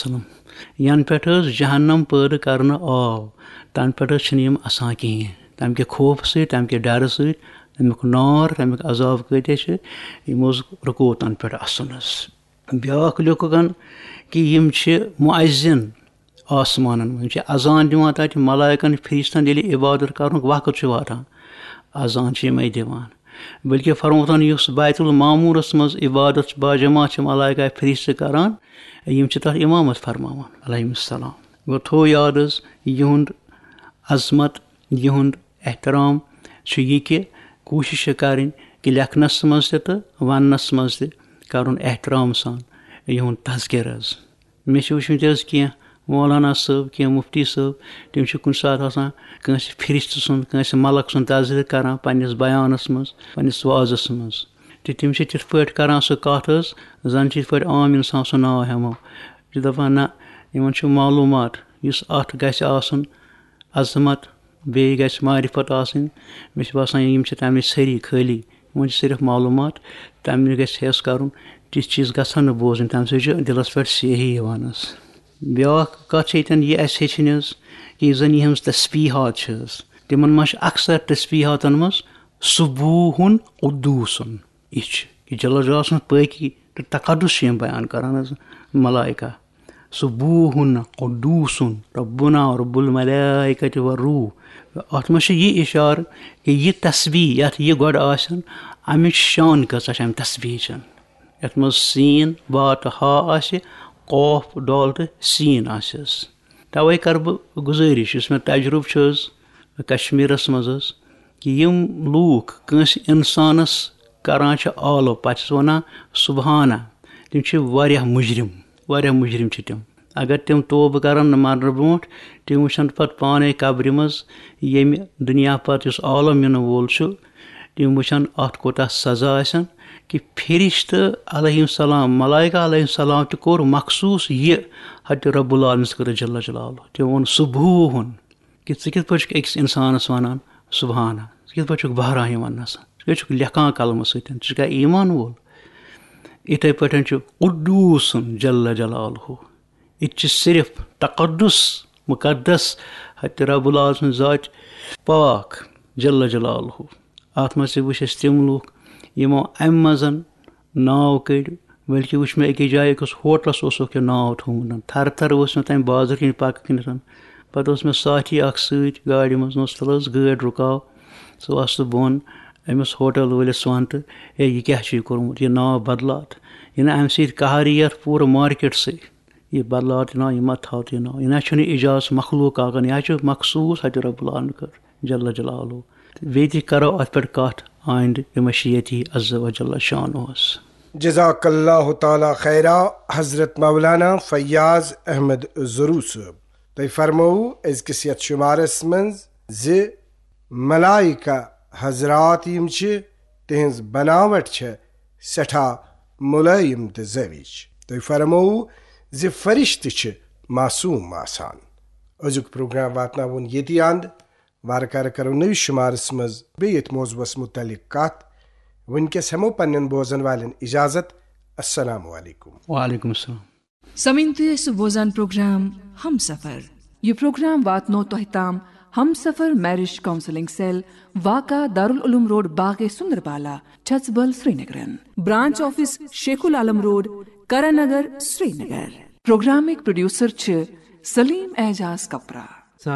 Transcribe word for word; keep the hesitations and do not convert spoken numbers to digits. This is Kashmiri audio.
وسلم۔ ینہٕ پٮ۪ٹھ حظ جہنم پٲدٕ کرنہٕ آو، تنہٕ پٮ۪ٹھ حظ چھِنہٕ یِم اسان کِہیٖنۍ۔ تمہِ کہِ خوفہٕ سۭتۍ، تمہِ کہِ ڈرٕ سۭتۍ، تمیُک نار، تمیُک عذاب کۭتیاہ چھِ، یِم حظ رُکو تنہٕ پٮ۪ٹھ اسُن حظ۔ بیٛاکھ لیوٚکھُکھ کہِ یِم چھِ مُعزِن آسمانن منٛز، یِم چھِ اذان دِوان تتہِ ملائکن فرشتن ییٚلہِ عبادت کرنُک وقت چھُ واتان، اذان چھِ یِمے دِوان۔ بلکہِ فرموتن یُس بیت المعمورس منٛز عبادت چھِ باجماعت چھِ ملائکہ فرشتہٕ کران، یِم چھِ تتھ امامت فرماوان علیہم السلام۔ گوٚو تھوٚو یاد حظ یِہُنٛد عظمت، یِہُنٛد احترام چھُ یہِ کہِ کوٗشِش چھِ کرٕنۍ کہِ لیکھنس منٛز تہِ تہٕ وننس منٛز تہِ کرُن احترام سان یِہُنٛد تذکرٕ حظ۔ مےٚ چھِ وٕچھمٕتۍ حظ کینٛہہ مولانا صٲب، کینٛہہ مفتی صٲب، تِم چھِ کُنہِ ساتہٕ آسان کٲنٛسہِ فرشتہٕ سُنٛد، کٲنٛسہِ ملک سُنٛد تذکرٕ کران پننِس بیانس منٛز، پننِس وعظس منٛز۔ تہٕ تِم چھِ تِتھ پٲٹھۍ کران سُہ کتھ حظ، زن چھِ یِتھ پٲٹھۍ عام انسان سُہ ناو ہٮ۪مو۔ یہِ چھِ دپان، نہ، یِمن چھُ معلوٗمات، یُس اتھ گژھِ آسُن عظمت، بیٚیہِ گژھِ معرفت آسٕنۍ۔ مےٚ چھِ باسان، یِم چھِ تَمِچ سٲری خٲلی، یِمن چھِ صرف معلوٗمات، تَمہِ نِش گژھِ ہیٚس کَرُن۔ تِژھ چیٖز گژھن نہٕ بوزٕنۍ، تَمہِ سۭتۍ چھُ دِلَس پٮ۪ٹھ سیاہی یِوان حظ۔ بیٛاکھ کَتھ چھِ ییٚتٮ۪ن یہِ اَسہِ ہیٚچھِنۍ حظ، کہِ یُس زَن یِہٕنٛز تسبیٖحات چھِ حظ، تِمَن منٛز چھِ اکثر تسبیٖحاتَن منٛز سبوحن قدوسن۔ یہِ چھِ، یہِ جل جلال سٕنٛز پٲکی تہٕ تقدس چھِ یِم بیان کران حظ، ملائکہ۔ سبوحن قدوسن ربنا رب الملائکۃ والروح۔ اتھ منٛز چھُ یہِ اشارٕ کہِ یہِ تسبیح یتھ یہِ گۄڈٕ آسن، امِچ شان کۭژاہ چھِ امہِ تسبیح چن۔ یتھ منٛز سین، با تہٕ ہا آسہِ، قوف، ڈال تہٕ سین آسٮ۪س۔ توے کرٕ بہٕ گزٲرِش، یُس مےٚ تجربہٕ چھُ حظ کشمیرس منٛز حظ، کہِ یِم لوٗکھ کٲنٛسہِ اِنسانَس کران چھِ آلو، پَتہٕ چھِس وَنان سبحانہ، تِم چھِ واریاہ مُجرِم، واریاہ مُجرِم چھِ تِم۔ اگر تِم توبہٕ کرن نہٕ مرنہٕ برونٛٹھ، تِم وٕچھن پَتہٕ پانے قبرِ منٛز ییٚمہِ دُنیا پَتہٕ یُس عالم یِنہٕ وول چھُ، تِم وٕچھن اَتھ کوٗتاہ سزا آسن، کہِ فرشتہٕ علیہ السلام، ملائکہ علیہ السلام تہِ کوٚر مخصوٗص یہِ حضرت رب العالمینس خٲطرٕ جل جلالہ۔ تِمو ووٚن سبحوحن، کہِ ژٕ کِتھ پٲٹھۍ چھُکھ أکِس اِنسانَس وَنان سبحانہ؟ ژٕ کِتھ پٲٹھۍ چھُکھ بہران یہِ وَننَس؟ ژٕ کیٛازِ چھُکھ لیکھان قلمہٕ سۭتۍ؟ ژٕ چھُکھا ایٖمان وول؟ یِتھَے پٲٹھۍ چھُ قدوٗسُن جل جلالہ، یہِ تہِ چھِ صرف تقدس، مقدس حضرت رب العالمین سٕنٛز ذاتِ پاک جل جلالہ۔ اَتھ منٛز تہِ وٕچھ اَسہِ تِم لُکھ یِمو اَمہِ منٛز ناو کٔڑۍ، بلکہِ وٕچھ مےٚ أکِس جایہِ أکِس ہوٹلَس اوسُکھ یہِ ناو تھوٚومُت۔ تھرٕ تھرٕ اوس مےٚ تَمہِ بازرٕ کِنۍ پَکہٕ کِنٮ۪تھ۔ پَتہٕ اوس مےٚ ساتھی اَکھ سۭتۍ گاڑِ منٛز، نوٚژ تَلہٕ حظ گٲڑۍ رُکاو، ژٕ وَس تہٕ بۄن أمِس ہوٹل وٲلِس وَن تہٕ، "ہے، یہِ کیٛاہ چھُے کوٚرمُت؟ یہِ ناو بدلاو تہٕ یہِ نہٕ اَمہِ سۭتۍ قہر یِیَتھ پوٗرٕ مارکیٹسٕے۔ یہِ بدلاو تہٕ ناو، یہِ مہ تھاو تہٕ یہِ ناو۔ یہِ نہ چھُنہٕ اعجاز مخلوق کاکَن، یہِ حظ چھُ مخصوٗص حضرت رب العالمین خٲطرٕ جل جلالہ۔" تہٕ بیٚیہِ تہِ کرو اَتھ پٮ۪ٹھ کَتھ آیندٕ بمشیئتہ عز و جل شانہ۔ جزاک اللہ تعالیٰ خیرا حضرت مولانا فیاض احمد زرو صٲب۔ تۄہہِ فرمووُ أزکِس یتھ شمارس منٛز زِ ملائکہ حضرات یِم چھِ، تِہنٛز بناوٹ چھےٚ سٮ۪ٹھاہ مُلٲیِم تہٕ زٲوِج۔ تۄہہِ فرمووُ زِ فرشتہٕ چھِ معصوم آسان۔ أزیُک پروگرام واتناوُن ییٚتی اند۔ وارٕ کارٕ کرو نٔوِس شمارس منٛز بیٚیہِ یتھ موضوعس متعلق کتھ۔ وٕنکیٚس ہٮ۪مو پننٮ۪ن بوزن والٮ۪ن اجازت۔ السلام علیکم۔ وعلیکم السلام۔ سمعین، تُہۍ ٲسِو بوزان پروگرام ہم سفر۔ یہِ پروگرام واتنو تۄہہِ تام ہم سفر میرج کاؤنسلنگ سیل، واقع دارالعلوم روڈ، باغ سندربالا، چھژبل، سرینگرن۔ برانچ آفس شیخ العالم روڈ، کرن نگر، سرینگر۔ پروگرامٕکۍ پروڈیوسر چھِ سلیم اعجاز کپرا۔